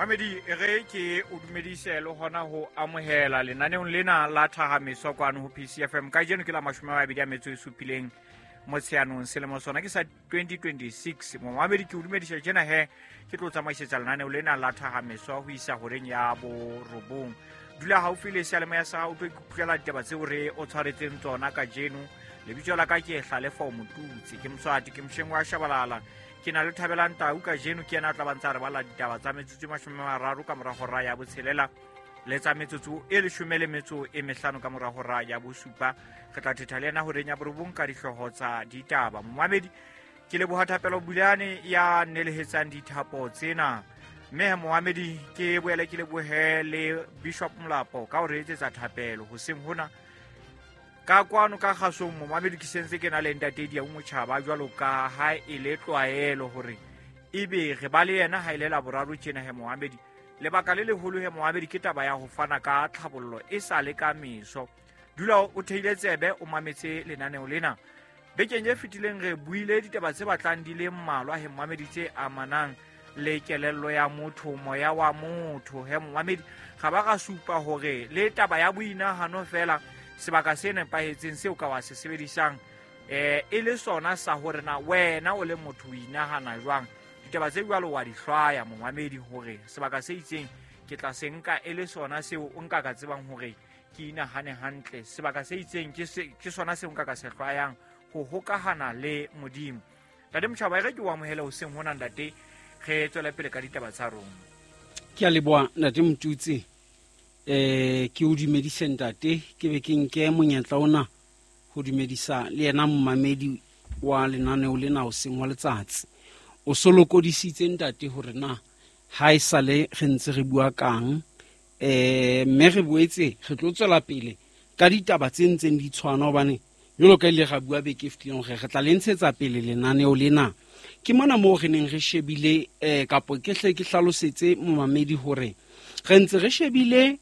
Mamedi, e re ke o dumedise le hona ho amohela lenaneong lena la Thahameso kwano ho PCFM. Kajeno ke la 27 Motsheanong, selemo sona ke sa 2026. Momamedi, ke o dumedisa tjena he, ke tlo tsamaisetsa lenaneo lena la Thahameso ho isa horeng ya 9. Dula haufi le seyalemoya sa o tlo ikutlwela ditaba tseo re o tshwaretseng tsona kajeno. Lebitso la ka ke Hlalefo Motutsi, ke Moswati, ke mosheng wa Shabalala. Ke na le Thabelang Tau kajeno, ke yena a tla ba ntse a re bala ditaba tsa metsotso e 30 ka mora hora ya 6 le tsa metsotso e 15 ka mora hora ya 7. Re tla thetha le yena horeng ya 9 ka dihlooho tsa ditaba. Momamedi, ke leboha Thapelo Bulane ya nelehetsang dithapo tsena. Mme momamedi, ke boele ke lebohe le Bishop Molapo ka ho re etsetsa thapelo hoseng hona. Ka kwano ka kgasong, momamedi, ke sentse ke na le ntate Diau Motjhaba, jwalo ka ha e le tlwaelo hore ebe re ba le yena ha e le Laboraro tjena he momamedi. Lebaka le leholo he momamedi ke taba ya ho fana ka tlhabollo e sa le ka meso. Dula o theile tsebe o mametse lenaneo lena. Bekeng e fetileng re buile ditaba tse batlang di le mmalwa he momamedi tse amanang le kelello ya motho, moya wa motho he momamedi. Ga ba ra supa hore le taba ya boinahano fela sebaka se nepahetseng seo ka wa se sebedisang e le sona sa hore na wena o le motho o inahana jwang. Ditaba tse jwalo wa di hlwaya momamedi hore sebaka se itseng ke tla se nka e le sona seo o nka ka tsebang hore ke inahane hantle. Sebaka se itseng ke sona seo nka ka se hlwayang ho hokahana le Modimo. Ntate Motjhaba, e re ke o amohele hoseng hona ntate, re tswele pele ka ditaba tsa rona. Ke a leboha ntate Motutsi. Ke o dumedise ntate, ke be ke nke monyetla ona ho dumedisa le yena momamedi wa lenaneo lena hoseng wa letsatsi. O so lokodisitse ntate hore na ha e sale re ntse re bua kang, mme re boetse re tlo tswela pele ka ditaba tse ntseng di tshwana, hobane jwalo ka ile ra bua beke e fetileng hore re tla le ntshetsa pele lenaneo lena. Ke mona moo re neng re shebile, kapo ke hle ke hlalosetse momamedi hore re ntse re shebile,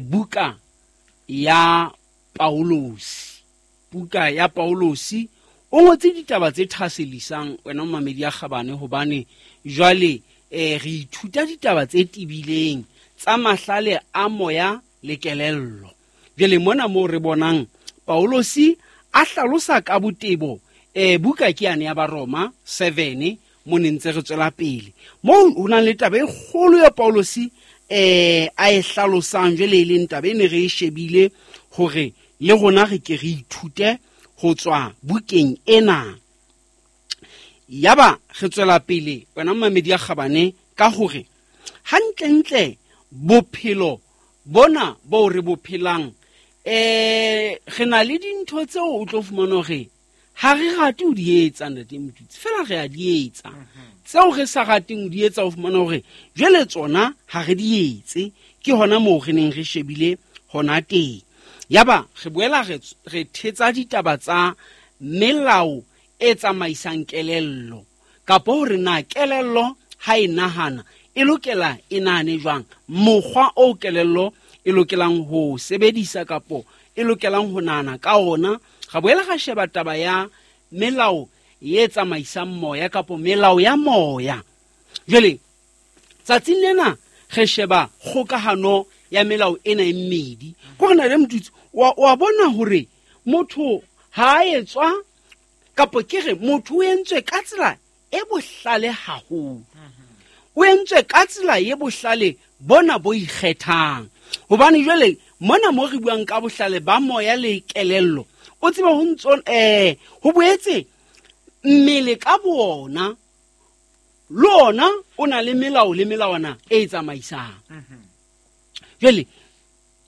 buka ya Paulosi. Buka ya Paulosi o ngotse ditaba tse thahasellisang wena momamedi ya kgabane, hobane jwale, re ithuta ditaba tse tebileng tsa mahlale a moya le kelello. Jwale mona moo re bonang Paulosi a hlalosa ka botebo, buka ke yane ya Baroma 7, mo ne ntse re tswela pele. Moo ho nang le taba e kgolo ya Paulosi, a e hlalosang jwale e leng taba e ne re e shebile hore le rona re ke re ithute ho tswa bukeng ena. Yaba re tswela pele wena momamedi ya kgabane ka hore hantlentle bophelo bona bo re bo phelang, re na le dintho tseo o tlo fumana hore ha re rate ho di etsa ntate Motutsi, fela re a di etsa. Tseo re sa rateng ho di etsa o fumana hore jwale tsona ha re di etse, ke hona moo re neng re shebile hona teng. Yaba re boela re thetsa ditaba tsa melao e tsamaisang kelello, kapo hore na kelello ha e nahana e lokela e nahane jwang, mokgwa o kelello e lokelang ho sebedisa kapo e lokelang ho nahana ka ona. Ra boela ra sheba taba ya melao e tsamaisang moya kapo melao ya moya. Jwale tsatsing lena re sheba kgokahano ya melao ena e mmedi. Ko re na le Motutsi, wa bona hore motho ha a etswa kapo ke re motho o entswe ka tsela e bohlale haholo. O entswe ka tsela e bohlale bona bo ikgethang. Hobane jwale mona mo re buang ka bohlale ba moya le kelello, o tsebe ho ntso, ho boetse mmele ka boona le ona o na le melao le melawana e tsamaisang. Jwale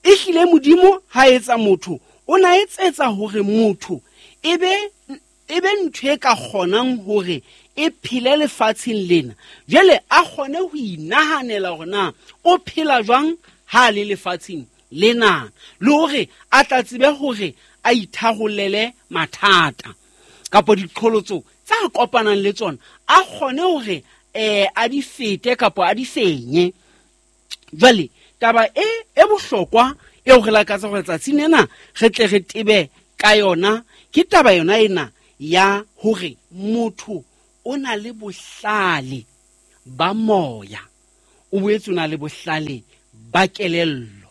ehlile Modimo ha etsa motho, o na etsetsa hore motho e be ntho e ka kgonang hore e phele lefatsheng lena. Jwale a kgone ho inahanela hore na o phela jwang ha a le lefatsheng lena, le hore a tla tsebe hore a itharollele mathata kapo diqholotso tsa kopanang le tsona, a kgone hore, a di fete kapo a di fenye. Jwale taba e bohlokwa eo re lakatsa hore tsatsing lena re tle re tebe ka yona, ke taba yona ena ya hore motho o na le bohlale ba moya. O boetse o na le bohlale ba kelello.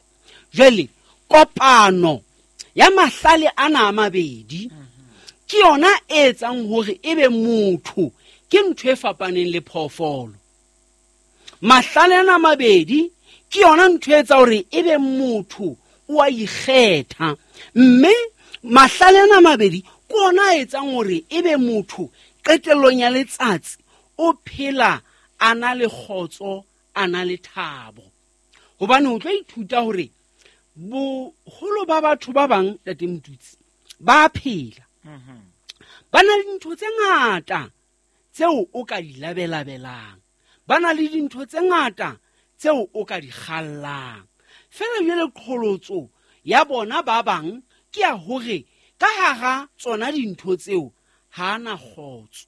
Jwale kopano ya mahlale ana a mabedi ke yona e etsang hore ebe motho ke ntho e fapaneng le phoofolo. Mahlale ana a mabedi ke yona ntho e etsa hore ebe motho o a ikgetha, mme mahlale ana a mabedi ke ona a etsang hore ebe motho qetellong ya letsatsi o phela a na le kgotso, a na le thabo. Hobane o tlo ithuta hore boholo ba batho ba bang, Ntate Motutsi, ba phela ba na le dintho tse ngata tseo o ka di labelabelang, ba na le dintho tse ngata tseo o ka di kgallang. Fela jwale qholotso ya bona ba bang ke ya hore ka hara tsona dintho tseo ha ana kgotso,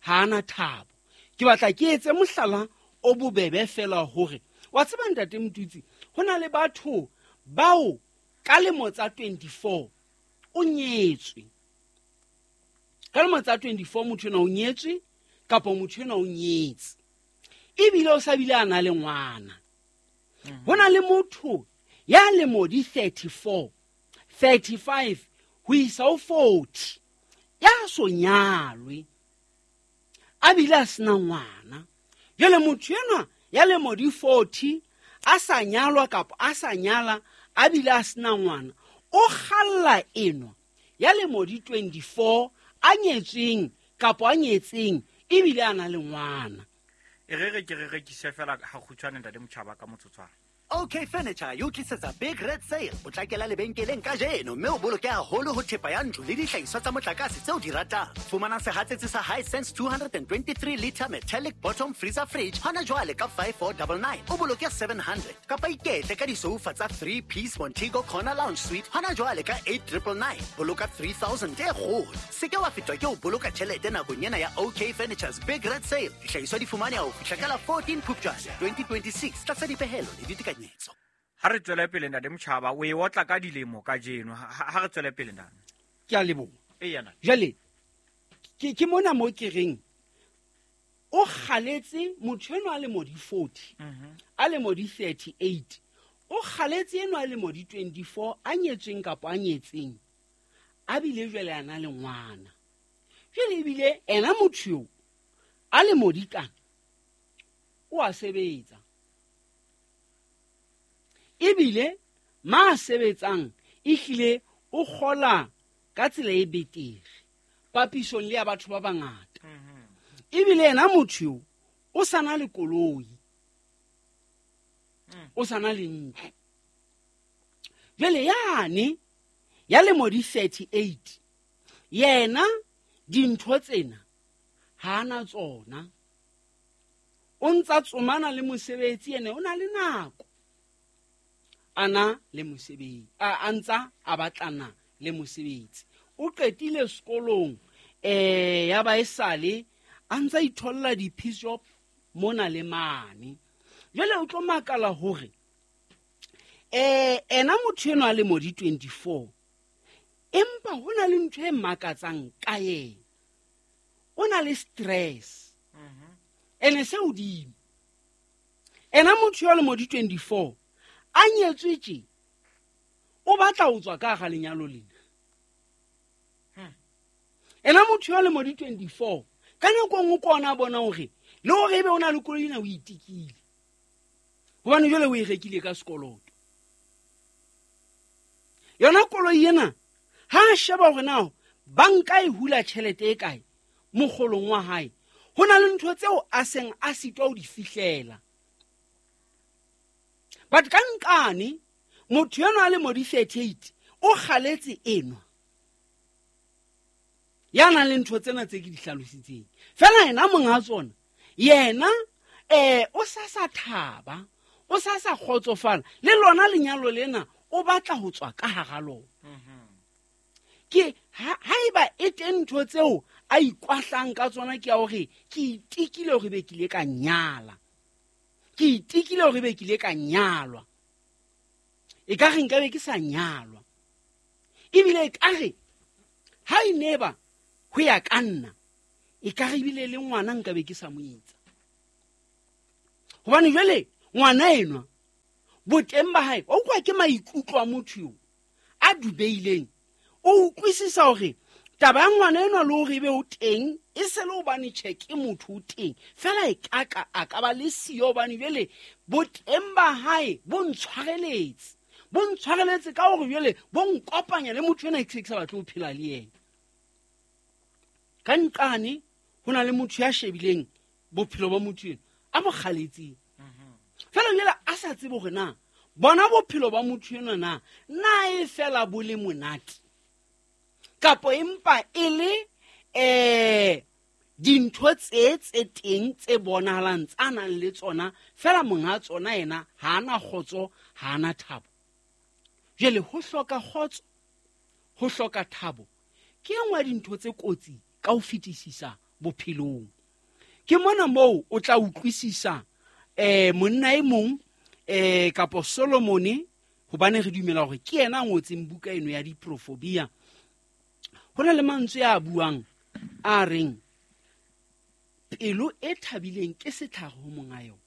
ha ana thabo. Ke batla ke etse mohlala o bobebe fela hore wa tseba, Ntate Motutsi, ho na le batho bao ka lemo tsa 24 o nyetswe. Ka lemo tsa 24 motho enwa o nyetswe kapa motho enwa o nyetse, ebile o sa bile a na le ngwana. Ho na le motho ya lemo di 34, 35 ho isa ho 40 ya so nyalwe, a bile a sena ngwana. Jwale motho enwa ya lemo di 40 a sa nyalwa kapa a sa nyala a bile a sena ngwana, o kgalla enwa ya lemo di 24 a nyetsweng kapa a nyetseng ebile a na le ngwana. E re re ke re rekise fela ha kgutshwane, Ntate Motjhaba, ka motsotswana. OK Furniture e o tlisetsa Big Red Sale. Potlakela lebenkeleng kajeno mme o boloke haholo ho thepa ya ntlo le dihlahiswa tsa motlakase tseo di ratang. Fumana sehatsetsi sa Hisense 223 liter metallic bottom freezer fridge hona jwale ka 5499, o boloke 700. Kapa iketle ka disoufa tsa 3 piece Montego corner lounge suite hona jwale ka 8999, boloka 3000 e kgolo. Se ke wa fetwa ke ho boloka tjhelete nakong ena ya OK Furniture's Big Red Sale. Dihlahiswa di fumaneha ho fihla ka la 14 Phupjane 2026 tlasa dipehelo le ditekanyetso. Ha re tswele pele, Ntate Motjhaba, o e otla ka dilemo kajeno. Ha re tswele pele, ntate. Ke a leboha. Eya, ntate. Jwale ke mona mo ke reng o kgaletse motho enwa a lemo di 40, a lemo di 38, o kgaletse enwa a lemo di 24 a nyetsweng kapa a nyetseng, a bile jwale a na le ngwana. Jwale ebile ena motho eo a lemo di kana o a sebetsa, ebile ma sebetsang ehlile o kgola ka tsela e betere papisong le ya batho ba bangata. Ebile yena motho eo o sa na le koloi, o sa na le ntlo. Jwale yane ya lemo di 38 yena dintho tsena ha ana tsona, o ntsa tsomana le mosebetsi, ene o na le nako ana le mosebetsi, a ntsa a batlana le mosebetsi. O qetile sekolong, ya ba esale a ntsa itholla di-piece job mona le mane. Jwale o tlo makala hore ena motho enwa a lemo di 24, empa ho na le ntho e makatsang ka yena, o na le stress ene se hodimo. Ena motho yo a lemo di 24 a nyetswe tje, o batla ho tswa ka hara lenyalo lena. Ena motho yo a lemo di 24 ka nako e nngwe ke ona a bona hore le hore ebe o na le koloi ena o itekile, hobane jwale o e rekile ka sekoloto. Yona koloi ena ha a sheba hore na banka e hula tjhelete e kae mokgolong wa hae, ho na le ntho tseo a seng a sitwa ho di fihlela. But ka nkane motho enwa a lemo di 38 o kgaletse enwa ya nang le ntho tsena tse ke di hlalositseng, fela yena monga tsona yena o sa sa thaba, o sa sa kgotsofala le lona lenyalo lena, o batla ho tswa ka hara lona. Ke haeba e teng ntho tseo a ikwahlang ka tsona ke ya hore ke itekile hore be ke ile ka nyala, ke itekile hore be ke ile ka nyalwa, e ka re nka be ke sa nyalwa, ebile e ka re ha e neba ho ya ka nna, e ka re ebile le ngwana nka be ke sa mo etsa. Hobane jwale Ngwana enwa boteng ba hae o kwa ke maikutlo a motho yo a dubeileng. O utlwisisa hore taba ya ngwana enwa le hore ebe o teng e se le hobane tjhe ke motho o teng fela e kaka a ka ba le siyo, hobane jwale boteng ba hae bo ntshwareletse ka hore jwale bo nkopanya le motho ena ke sa batle ho phela le yena. Ka nqane ho na le motho ya shebileng bophelo ba motho ena a mo kgaletseng fela jwale a sa tsebe hore na bona bophelo ba motho ena na e fela bo le monate kapo empa e le dintho tse teng tse bonahalang tsa nang le tsona fela monga tsona yena ha ana kgotso, ha ana thabo. Jwale ho hloka kgotso, ho hloka thabo ke e nngwe ya dintho tse kotsi ka ho fetisisa bophelong. Ke mona moo o tla utlwisisa monna e mong kapo Solomone, hobane re dumela hore ke yena a ngotseng buka eno ya diprofobia. Ho na le mantswe a buang a reng pelo e thabileng ke setlhare ho monga yona.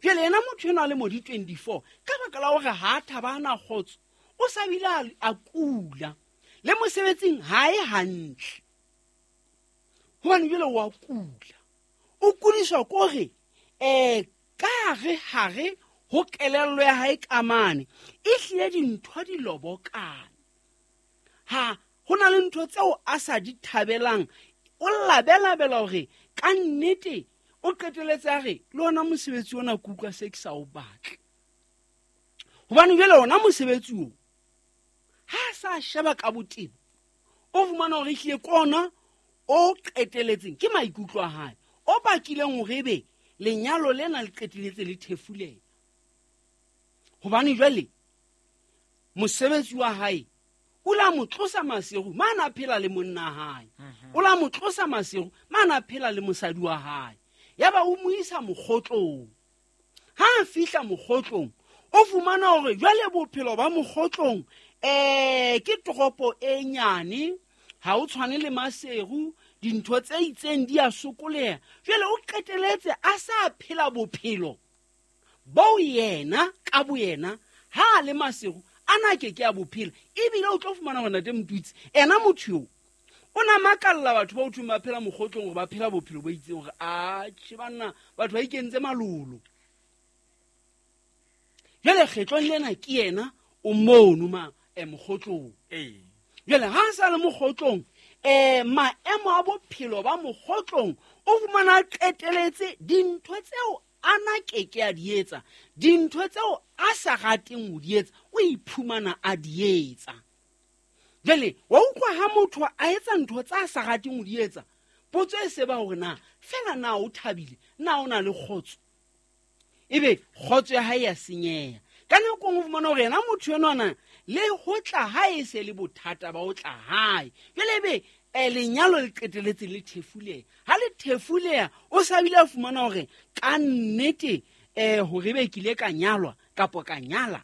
Jwale yena motho enwa a le mo di 24 ka baka la hore ha a thaba, a na kgotso, o sa bile a kula le mosebetsing ha e hantle, hobane jwale wa kula. O kudiswa kore ka hare ho kelello ya hae ka mane e hlile dintho di lobokana. Ha ho na le ntho tseo a sa di thabelang, o labelabela hore ka nnete o qeteletse a re le ona mosebetsi ona ke utlwa se ke sa o batle. Hobane jwale ona mosebetsi oo ha a sa sheba ka botebo, o fumana hore ehlile ke ona o qeteletseng, ke maikutlo a hae o bakileng hore ebe lenyalo lena le qeteletse le thefuleha. Hobane jwale mosebetsi wa hae o la mo tlosa Maseru mane a phela le monna hae, o la mo tlosa Maseru mane a phela le mosadi wa hae, yaba o mo isa mokgotlong. Ha a fihla mokgotlong o fumana hore jwale bophelo ba mokgotlong ke toropo e nyane, ha o tshwane le Maseru, dintho tse itseng di a sokoleha. Jwale o qeteletse a sa phela bophelo bo yena ka boyena ha a le Maseru ana ke ke a bophela. Ebile o tlo fumana hore ntate Motutsi ena motho eo o na makalla batho ba o thweng ba phela mokgotlong hore ba phela bophelo bo itseng, hore atjhe banna batho ba ikentse malolo. Jwale kgetlong lena ke yena o mono ma mokgotlong. Jwale ha a sa le mokgotlong, maemo a bophelo ba mokgotlong o fumana a qeteletse dintho tseo ana ke ke a di etsa, dintho tseo a sa rateng ho di etsa o iphumana a di etsa. Jwale wa utlwa ha motho a etsa ntho tsa a sa rateng ho di etsa, potso e se ba hore na fela na o thabile, na o na le kgotso, ebe kgotso ya hae ya senyeha. Ka nako nngwe o fumana hore yena motho enwana le ho tla hae e se le bothata ba ho tla hae. Jwale ebe lenyalo le qeteletse le thefuleha. Ha le thefuleha o sa bile a fumana hore ka nnete hore ebe ke ile ka nyalwa kapo ka nyala,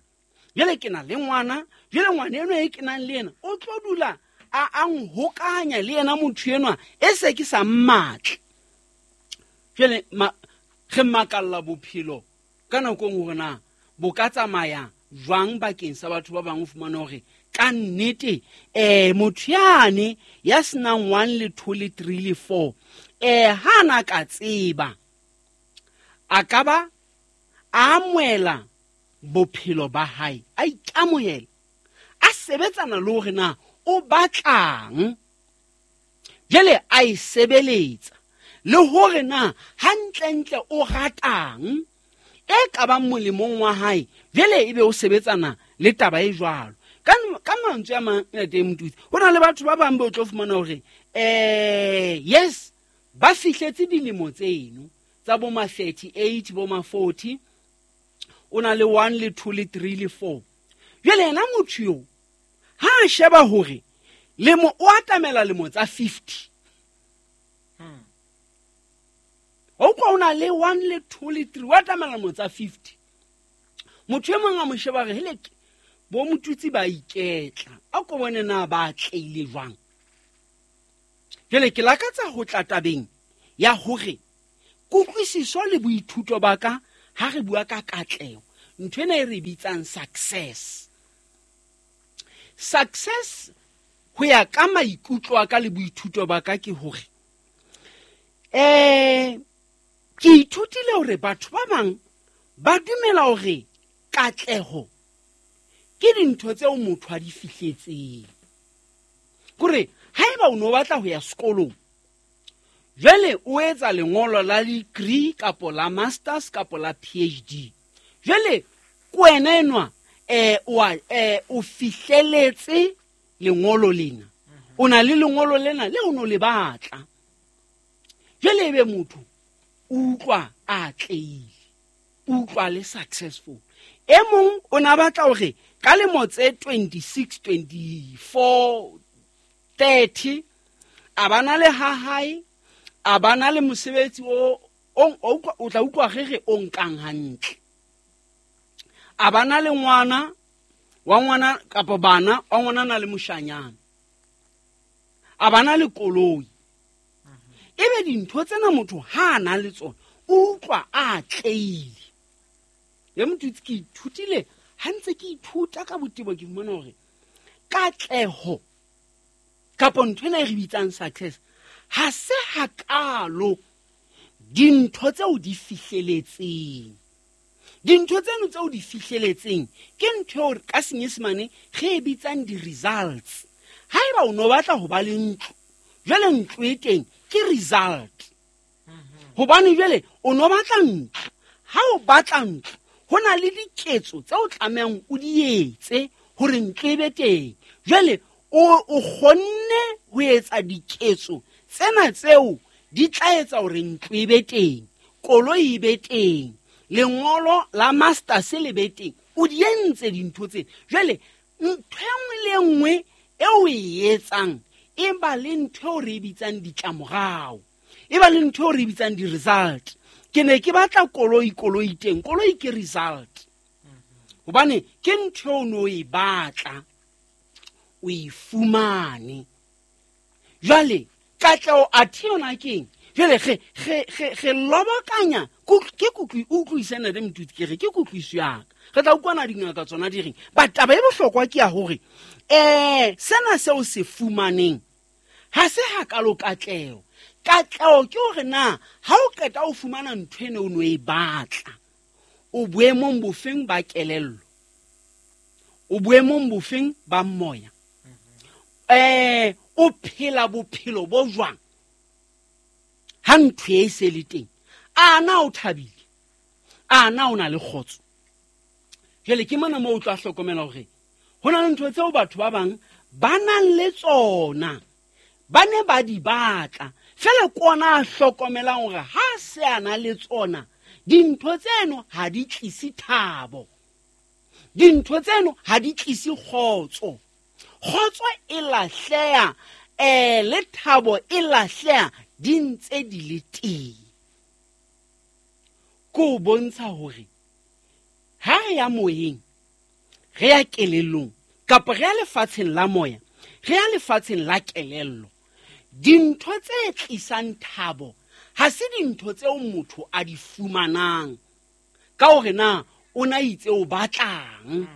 jwale ke na le ngwana, jwale ngwana enwa e ke nang le yena o tlo dula a nhokanya le yena motho enwa e se ke sa mmatle. Jwale re makalla bophelo ka nako nngwe hore na bo ka tsamaya jwang bakeng sa batho ba bang. O fumana hore ka nnete motho yane ya senang 1 le 2 le 3 le 4 ha na ka tseba a ka ba a amohela bophelo ba hae, a ikamohela, a sebetsana le hore na o batlang, jwale a e sebeletsa le hore na hantlentle o ratang e ka bang molemong wa hae, jwale ebe o sebetsana le taba e jwalo. Ka mantswe a mang ntate Motutsi, ho na le batho ba bang ba o tlo fumana hore yes ba fihletse dilemo tseno tsa bo ma 38 bo ma 40, o na le 1 le 2 le 3 le 4. Jwale yena motho eo ha a sheba hore lemo o atamela lemo tsa 50, o kwa o na le 1 le 2 le 3, o atamela lemo tsa 50. Motho e mong a mo sheba re hele bo Motutsi ba iketla, a ko bone na ba tleile jwang. Jwale ke lakatsa ho tla tabeng ya hore kutlwisiso le boithuto ba ka Ha re bua ka katleho, ntho ena e re bitsang success. Success ho ya ka maikutlo a ka le boithuto ba ka ke hore ke ithutile hore batho ba bang ba dumela hore katleho ke dintho tseo motho a di fihletseng. Kore haeba o no batla ho ya sekolong, jwale o etsa lengolo la degree kapo la masters kapo la PhD, jwale ke wena enwa o fihleletse lengolo lena, o na le lengolo lena le o no le batla. Jwale ebe motho o utlwa a atlehile, o utlwa le successful. E mong o na batla hore ka lemo tse 26, 24, 30 a bana le ha hae, a bana le mosebetsi o tla utlwa re re o nkang hantle, a bana le ngwana wa ngwana kapa bana wa ngwana na le moshanyana, a bana le koloi. Ebe dintho tsena motho ha a na le tsona o utlwa a atlehile. Le motho ke ithutile ha ntse ke ithuta ka botebo, ke fumana hore katleho kapo ntho ena e re bitsang success ha se hakalo dintho tseo di fihleletseng. Dintho tseno tseo di fihleletseng ke ntho eo ka Senyesemane re e bitsang di-results. Haeba o no batla ho ba le ntlo, jwale ntlo e teng ke result. Hobane jwale o no batla ntlo, ha o batla ntlo ho na le diketso tseo tlamehang o di etse hore ntlo e be teng. Jwale o kgonne ho etsa diketso tsena tseo di tla etsa hore ntlo e be teng, koloi e be teng, lengolo la masters le be teng. O di entse dintho tsena. Jwale ntho e nngwe le nngwe eo o e etsang e ba le ntho eo re e bitsang ditlamorao, e ba le ntho eo re e bitsang di-result. Ke ne ke batla koloi, koloi teng, koloi ke result. Hobane ke ntho eo no e batla, o e fumane. Jwale katleho athe yona keng? Jwale re lobokanya ke utlwisana le mothuti, ke re ke kutlwiso ya ka. Re tla utlwana dingaka tsona di reng. Ba taba e bohlokwa ke ya hore sena seo se fumaneng ha se hakalo katleho. Katleho ke hore na ha o qeta o fumana ntho eno o no e batla, o boemong bofeng ba kelello, o boemong bofeng ba moya, o phela bophelo bo jwang ha ntho e se le teng. A na o thabile, a na o na le kgotso. Jwale ke mona moo o tla hlokomela hore ho na le ntho tseo batho ba bang ba nang le tsona, ba ne ba di batla, fela ke ona a hlokomelang hore ha se a na le tsona dintho tseno ha di tlise thabo, dintho tseno ha di tlise kgotso. Kgotso e lahleha, le thabo e lahleha di ntse di le teng. Ke o bontsha hore ha re ya moyeng, re ya kelellong, kapa re ya lefatsheng la moya, re ya lefatsheng la kelello, dintho tse tlisang thabo ha se dintho tseo motho a di fumanang ka hore na o na itse o batlang.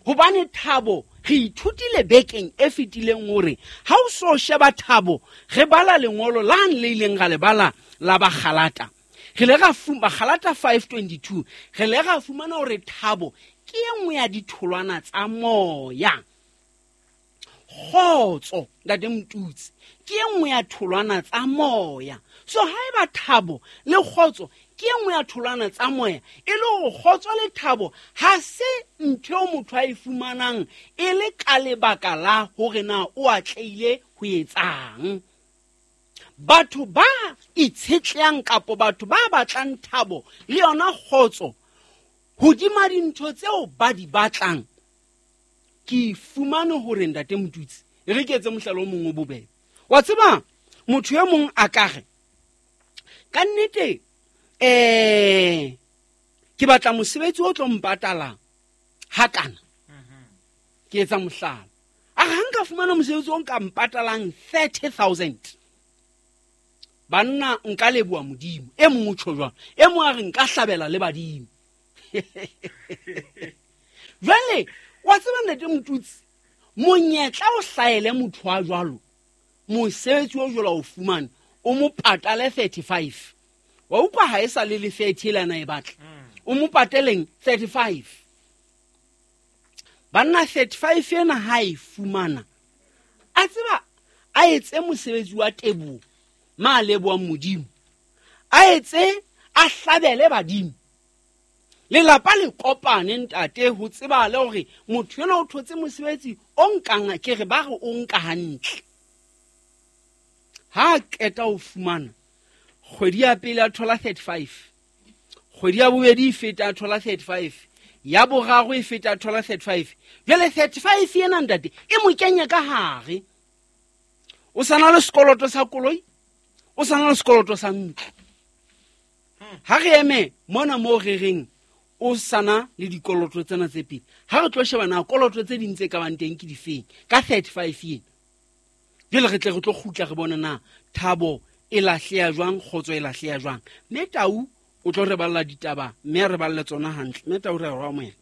Hobane thabo re ithutile bekeng e fetileng hore ha o so sheba thabo, re bala lengolo lane le ileng ra le bala la Bagalata. Re le ra Bagalata 5:22, re le ra fumana hore thabo ke e nngwe ya ditholwana tsa moya. Kgotso ntate Motutsi ke e nngwe ya tholwana tsa moya. So haeba thabo le kgotso ke e nngwe ya tholwana tsa moya, e le hore kgotso le thabo ha se ntho eo motho a e fumanang e le ka lebaka la hore na o atlehile ho etsang. Batho ba itshetlehang kapo batho ba batlang thabo le yona kgotso hodima dintho tseo ba di batlang, ke fumane hore ntate Motutsi, e re ke etse mohlala o mong o bobebe. Wa tseba motho e mong a ka re ka nnete ke batla mosebetsi o tlo mpatalang hakana. Ke etsa mohlala, a re ha nka fumana mosebetsi o nka mpatalang 30,000, banna nka leboha Modimo. E mong o tjho jwang, e mong a re nka hlabela le badimo. Jwale wa tseba ntate Motutsi, monyetla o hlaele motho wa jwalo, mosebetsi o jwalo o fumane, o mo patale 35. Wa utlwa ha e sa le le 30 ele ana e batla. O mo pateleng 35. Banna 35 ena ha e fumana, a tseba a etse mosebetsi wa teboho, ma lebohang Modimo. A etse a hlabele badimo. Lelapa le kopane ntate ho tseba le hore motho enwa o thotse mosebetsi o nkang, ke re ba re o nka hantle. Ha a qeta ho fumana, kgwedi ya pele a thola 35, kgwedi ya bobedi e feta a thola 35, ya boraro e feta a thola 35. Jwale 35 ena ntate e mo kenya ka hare. O sa na le sekoloto sa koloi, o sa na le sekoloto sa ntlo. Ha re eme mona moo re reng o sana le dikoloto tsena tse pedi, ha re tlo sheba na koloto tse ding tse ka bang teng ke difeng ka 35 ena. Jwale re tle re tlo kgutla re bone na thabo e lahleha jwang, kgotso e lahleha jwang. Mme Tau o tlo re balla ditaba, mme a re balle tsona hantle. Mme Tau re a re amohela.